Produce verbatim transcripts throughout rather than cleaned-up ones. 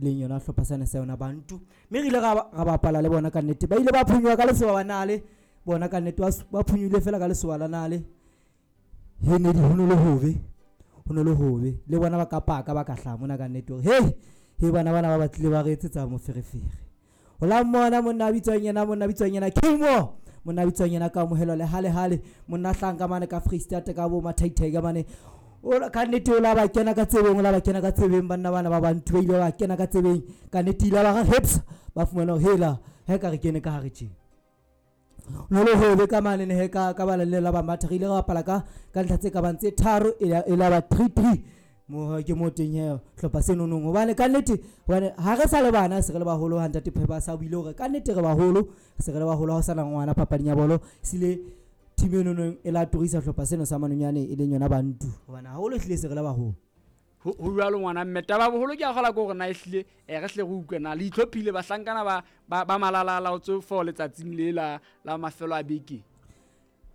Leng yona hlopha sena sa yona Bantu. Mme re ile ra ra bapala le bona ka nnete. Ba ile ba phunyoha ka lesoba ba nale. Bona ka nnete ba phunyohile fela ka lesoba la nale. He ne di ho no le hobe. Ho no le hobe. Le bona ba ka paka ba ka hlaha mona ka nnete hore hey, he bana bana ba batlile ba re etsetsa moferefere. O la mmona monna a bitswang yena, monna a bitswang yena Kimo. Monna a bitswang yena Kamohelo le hale hale. Monna a hlahang ka mane ka Freistata ka bo Mathaithai ka mane. O ka nnete o la ba kena ka tsebeng, o la ba kena ka tsebeng banna bana ba Bantu ba ile ba kena ka tsebeng. Ka nnete ile ba re hips ba fumana hore hela he ka re kene ka hare tje. No le hobe ka mane ne he ka ka bala le la ba matha re ile ra bapala ka ka ntlha tse ka bang tse tharo e la e la ba three three. Mo ke mo teng he hlopha se nonong hobane ka nnete hobane ha re sa le bana se re le baholo ha ntate Phepha sa buile hore ka nnete re baholo se re le baholo ha o sana ngwana papading ya bolo sile team eno nong e la turisa hlopha seno sa Manonyane e leng yona Bantu hobane haholo ehlile se re le baholo. Ho jwalo ngwana mme taba boholo ke a kgola ke hore na ehlile eh, re hle re utlwe na le itlhophile bahlankana ba ba, ba malalala o tse for letsatsing le la la mafelo a beke.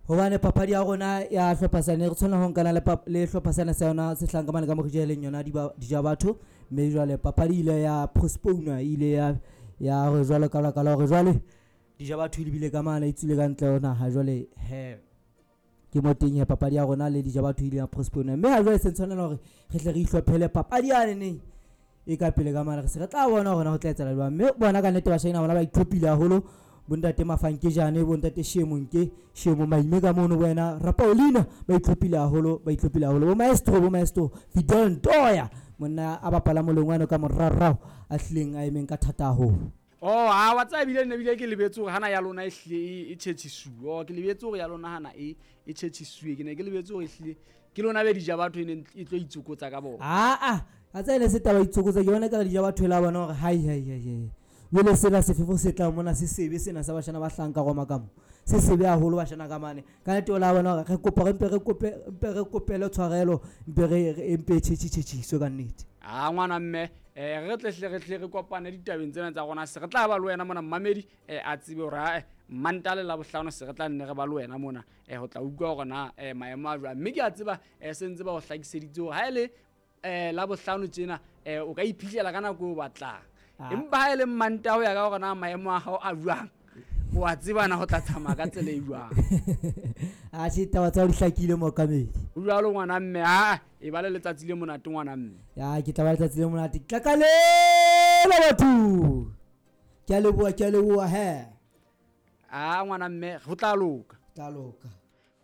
Hobane papadi ya rona ya hlopha sane re tshwanela ho nkana le le hlopha sena sa yona se hlang ka mane ka morija e leng yona dija batho. Mme jwale papadi ile ya postpone ile ya ya re jwale ka lebaka la hore jwale dija batho e lebile ka mane e tswile ka ntle ho naha jwale he ke mo teng he papadi ya rona le dija batho ile ya postpone. Mme ha jwale se tshwanela hore re tle re ihlophele papadi yane neng e ka pele ka mane re se re tla bona hore na ho tla etsahala jwang. Mme bona ka nnete bashanyana bona ba itlhophile haholo. Bontate Mafankejane, bontate Shemonke, Shemo Maime ka mono wena Rapaulina ba itlhophile haholo, ba itlhophile haholo. Bo maestro, bo maestro Fidel Ntoya monna a bapala molongwane ka morarao a hlileng a emeng ka thata haholo. Oh, ha wa tseba bile nne bile ke lebetse hore hana ya lona e hlile e tjhetjhisuwe. Oh, ke lebetse hore ya lona hana e e tjhetjhisuwe. Ke ne ke lebetse hore ehlile ke lona be dija batho e neng e tlo itsokotsa ka bona. Ah ah, a tseba le se taba itsokotsa ke bona ka dija batho e la bona hore hai hai hai hai. Jwale sena sefefo se tlang mona se sebe sena sa bashana ba hlahang ka Roma ka mo. Se sebe haholo bashana ka mane. Ka nnete o la bona hore re kopa re mpe re kope mpe re kopele tshwarelo mpe re re mpe tjhetjhi tjhetjhiswe ka nnete. Ah ngwana mme eh re tle hle re tle re kopane ditabeng tsena tsa rona se re tla ba le wena mona mmamedi eh a tsebe hore ha Mantale la bohlano se re tla nne re ba le wena mona eh ho tla utlwa hore na eh maemo a jwang. Mme ke a tseba eh se ntse ba o hlakiseditse hore ha ele eh la bohlano tjena eh o ka iphihlela ka nako o batlang. Empa ha ele Manta ho ya ka hore na maemo a hao a jwang o a tseba na ho tla tsamaya ka tsela e jwang. A tjhe taba tsa di hlakile mookamedi. O jwalo ngwana mme ha e ba le letsatsi le monate ngwana mme. Ya ke tla ba letsatsi le monate. Ke tla ka lela batho. Ke a leboha, ke a leboha he. Ah ngwana mme ho tla loka. Tla loka.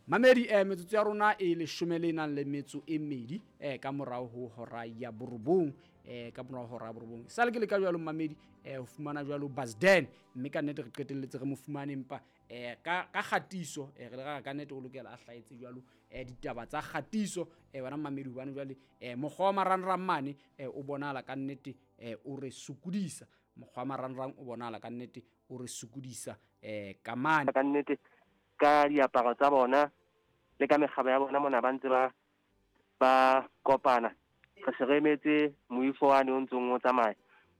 Mamedi eh metsotso ya rona e leshome le nang le metso e mmedi eh ka morao ho hora ya borobong eh ka morao hora ya borobong. Sale ke le ka jwalo mamedi eh ho fumana jwalo Basden mme ka nnete re qetelletse re mo fumane empa eh ka ka kgatiso eh re le ra ka nnete o lokela a hlahetse jwalo eh ditaba tsa kgatiso eh wena mamedi hobane jwale eh mokgwa wa marangrang mane eh o bonahala ka nnete eh o re sokodisa mokgwa wa marangrang o bonahala ka nnete o re sokodisa eh ka mane ka nnete ka diaparo tsa bona le ka mekgabo ya bona mona ba ntse ba ba kopana. Re se re emetse moifo wane o ntseng o tsamaya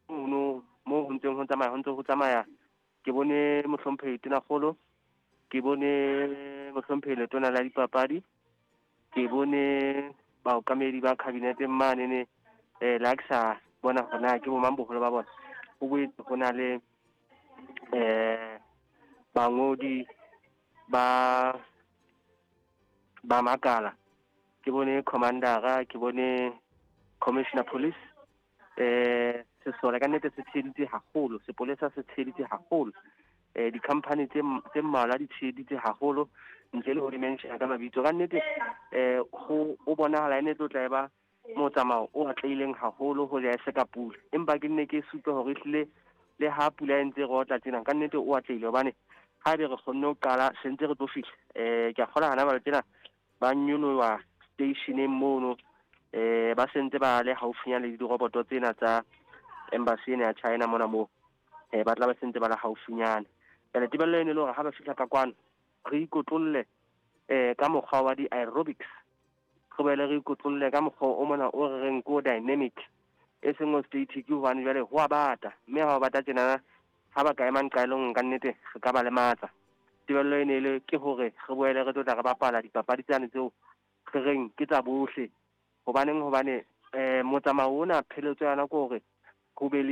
mono mo ho ntseng ho tsamaya ho ntse ho tsamaya. Ke bone mohlomphehi Tonakgolo, ke bone mohlomphehi Letona la Dipapadi, ke bone baokamedi ba kabinete mane ne eh la ke sa bona hore na ke bo mang boholo ba bona. Ho boetse ho na le eh bangodi ba ba makala. Ke bone commandera, ke bone commissioner police eh sesole ka nnete se tsheditse haholo, sepolesa se tsheditse haholo eh di-company tse tse mmalwa di tsheditse haholo ntle le ho di mention ka mabitso. Ka nnete eh ho o bonahala ene tlo tla eba motsamao o atlehileng haholo ho ja se ka pula, empa ke nne ke supe hore ehlile le ha pula e ntse re otla tjena ka nnete o atlehile hobane ha be re kgonne ho qala se ntse re tlo fihla. Eh ke a kgola hana ba tsena ba nyoloha stationeng mono eh ba sentse ba le haufinyana le diroboto tsena tsa embassy ena ya China mona moo eh ba tla ba sentse ba le haufinyana. Jwale tebello ene le hore ha ba fihla ka kwano re ikotlolle eh ka mokgwa wa di-aerobics, re boele re ikotlolle ka mokgwa o mona o re reng ko dynamic e seng o static hobane jwale ho a bata, mme ha o bata tjenana ha ba ka ema nqa e le nngwe ka nnete re ka ba lematsa. Tebello ene le ke hore re boele re tlo tla re bapala dipapadi tsane tseo re reng ke tsa bohle. Hobaneng hobane eh motsamao ona pheletso yana ke hore ho be le